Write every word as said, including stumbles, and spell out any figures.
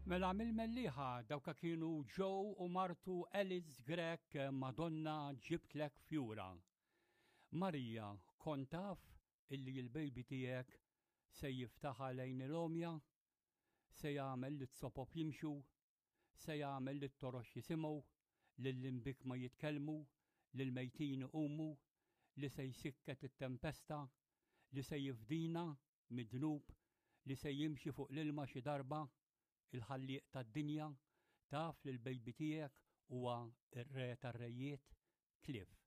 Mela mill-Mellieħa dawka kienu Joe u martu Alice Grech, "Madonna Ġibtlek Fjura". Marija, kont taf illi l-baby tiegħek se jiftaħ lejn il-għomja, se jagħmel li t-sopop jimxu, se jagħmel li t-torox jisimgħu, lill-imbikkma jitkellmu, lill-mejtin iqumu, li se jsikket it-tempesta, li se jifdina mid-dnub, li se jimxi fuq l-ilma xi darba, il-ħallieq tad-dinja, taf li l-baby tiegħek huwa ir-re tar-rejiet, Cliff?